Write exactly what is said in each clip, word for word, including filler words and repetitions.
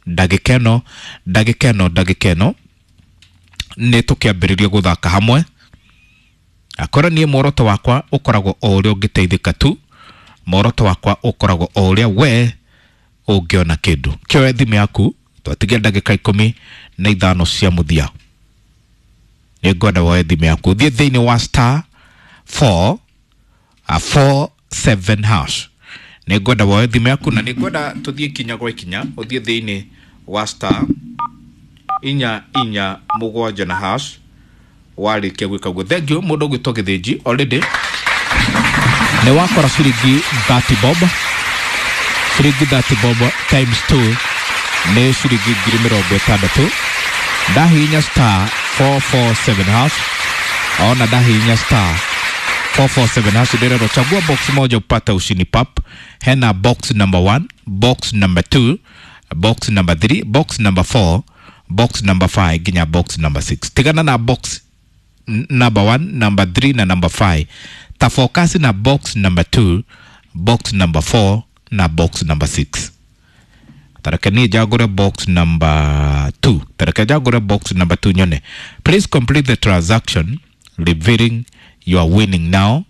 Ndagĩka ĩno, ndagĩka ĩno, ndagĩka ĩno nĩ tũkĩambĩrĩria gũthaka hamwe. Akorwo niĩ muoroto wakwa ũkoragwo o ũrĩa ũngĩteithĩka tu, muoroto wakwa ũkoragwo o ũrĩa we ũngĩona kĩndũ. Kĩoe thimũ yaku, twatigia ndagĩka ikũmi na ithano cia mũthia. Nĩ ngwenda woe thimũ yaku ũthiĩ thĩinĩ wa star four four seven hash. Nĩ ngwenda woe thimũ yaku na nĩ ngwenda tũthiĩ ikinya gwa ikinya, ũthiĩ thĩinĩ wa star inya inya mũgwanja na hash. Warĩkia gwĩka ũguo, thank you mũndũ ũgwĩtwo Gĩthĩnji, already nĩ wakora ciringi thirty bob. Ciringi thirty bob times two nĩ ciringi ngiri mĩrongo ĩtandatũ. Ndahihinya star four four seven hash, ona ndahihinya star four four seven hash ndĩrerwo chagua box moja upate ushindi pap. Hena box number one, box number two, box number three, box number four, box number five nginya box number six. Tigana na box number one, number three na number five. Ta focus na box number two, box number four na box number six. Tareke niĩ njagũre box number two. Tareke njagũre box number two nyone. Please complete the transaction revealing you are winning now.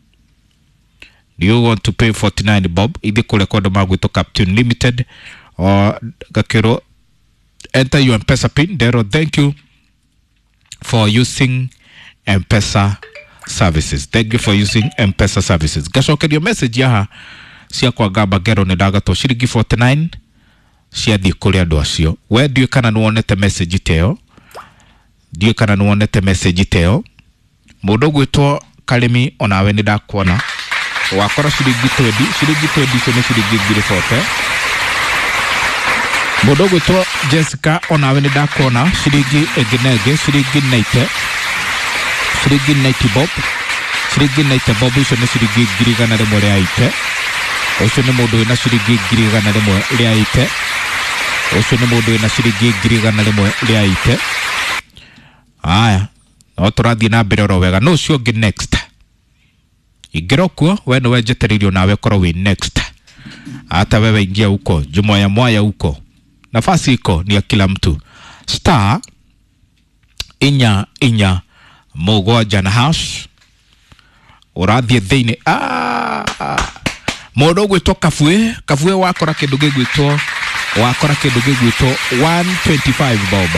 Do you want to pay forty-nine bob? Ithi kũrĩa kwa andũ magwĩtwo Captain Limited or gakĩrwo enter your M-Pesa pin. Ndero thank you for using M-Pesa services. Thank you for using M-Pesa services. Gacokerio message yaha cia kwa ngamba ngero nĩ ndagatwo ciringi forty-nine ciathiĩ kũrĩ andũ acio. We ndiũĩ kana nĩ wonete message ta ĩyo, ndiũĩ kana nĩ wonete message ta ĩyo. Mũndũ ũgwĩtwo Karĩmi onawe nĩ ndakuona wakora ciringi twenty, ciringi twenty icio nĩ ciringi ngiri forty. Mũndũ ũgwĩtwo Jessica onawe nĩ ndakuona ciringi ĩngĩ na ĩngĩ, ciringi ninety, ciringi ninety bob, ciringi ninety bob icio nĩ ciringi ngiri igana rĩmwe rĩa eighty. Ũcio nĩ mũndũ wĩna ciringi ngiri igana rĩmwe rĩa eighty. Ũcio nĩ mũndũ wĩna ciringi ngiri igana rĩmwe rĩa eighty. Aya, no tũrathiĩ na mbere oro wega. No ũcio ũngĩ next. Ingĩra kuo, we nĩwe njetereirio nawe ũkorwo wĩ next. Hata wewe ingia huko, jumuaya mwaya huko. Nafasi iko ni ya kila mtu. Star inya inya mũgwanja na hash. Ũrathiĩ thĩinĩ. Ah, mũndũ ũgwĩtwo Kabue, Kabue wakora kĩndũ gĩgwĩtwo, wakora kĩndũ gĩgwĩtwo one twenty-five bob.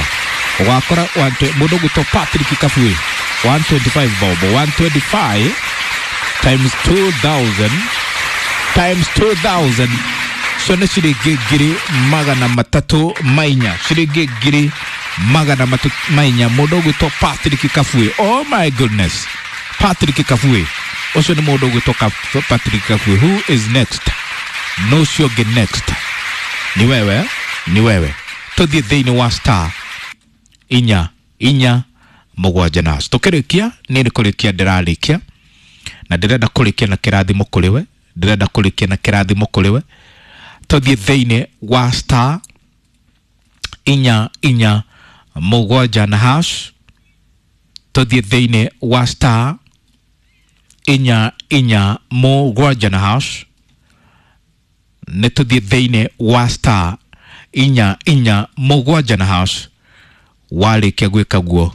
Wakora mũndũ ũgwĩtwo Patrick Kabue, one twenty-five bob, one twenty-five times two thousand times two thousand. So nĩ ciringi ngiri magana matatũ ma inya, ciringi ngiri magana matatũ ma inya. Mũndũ ũgwĩtwo Patrick Kabue. Oh my goodness, Patrick Kabue. Ũcio nĩ mũndũ ũgwĩtwo Patrick Kabue. Who is next? No ũcio ũngĩ next. Ni wewe, ni wewe. Tũthiĩ thĩinĩ wa star inya inya mũgwanja na hash. Tũkĩrĩkia, niĩ nĩ kũrĩkia ndĩrarĩkia, na ndĩrenda kũrĩkia na kĩrathimo kũrĩ we, ndĩrenda kũrĩkia na kĩrathimo kũrĩ we. Tũthiĩ thĩinĩ wa star inya inya mũgwanja na hash. Tũthiĩ thĩinĩ wa star inya inya mũgwanja na hash. Nĩ tũthiĩ thĩinĩ wa star inya inya mũgwanja na hash. Warĩkia gwĩka guo,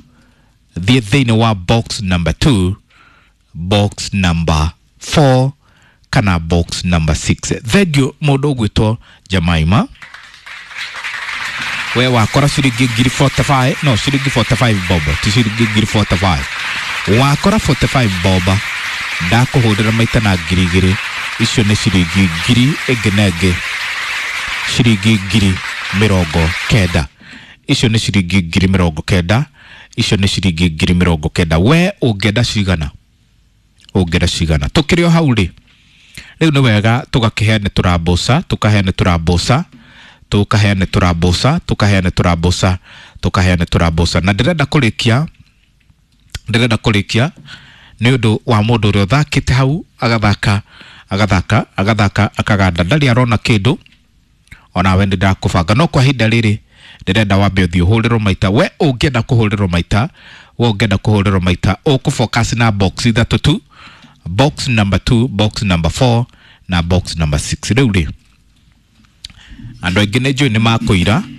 thiĩ thĩinĩ wa box number two, box number four kana box number six. Thank you mũndũ ũgwĩtwo Jemaima. We wakora ciringi ngiri forty-five, no ciringi forty-five bob, ti ciringi ngiri forty-five. Wakora forty-five bob, ndakũhũrĩra maita na ngiri igĩrĩ, icio nĩ ciringi ngiri ĩngĩ na ĩngĩ, ciringi ngiri mĩrongo kenda. Icio nĩ ciringi ngiri mĩrongo kenda, icio nĩ ciringi ngiri mĩrongo kenda. We ũngĩenda cigana? Ũngĩenda cigana? Tũkĩrĩ o hau rĩ, rĩu nĩ wega tũgakĩheane tũramboca, tũkaheane tũramboca, tũkaheane tũramboca, tũkaheane tũramboca, tũkaheane tũramboca. Na ndĩrenda kũrĩkia, ndĩrenda kũrĩkia nĩ ũndũ wa mũndũ ũrĩa ũthakĩte hau, agathaka, agathaka, agathaka, akaganda, ndarĩ arona kĩndũ. Onawe nĩ ndakũbanga, no kwa ihinda rĩrĩ ndĩrenda wambe ũthiĩ ũhũrĩrwo maita. We ũngĩenda kũhũrĩrwo maita, we ũngĩenda kũhũrĩrwo maita, ũkũfocus na box ithatũ tu, box number two, box number four na box number six. Rĩu rĩ, andũ aingĩ nĩ njũĩ nĩ makũira.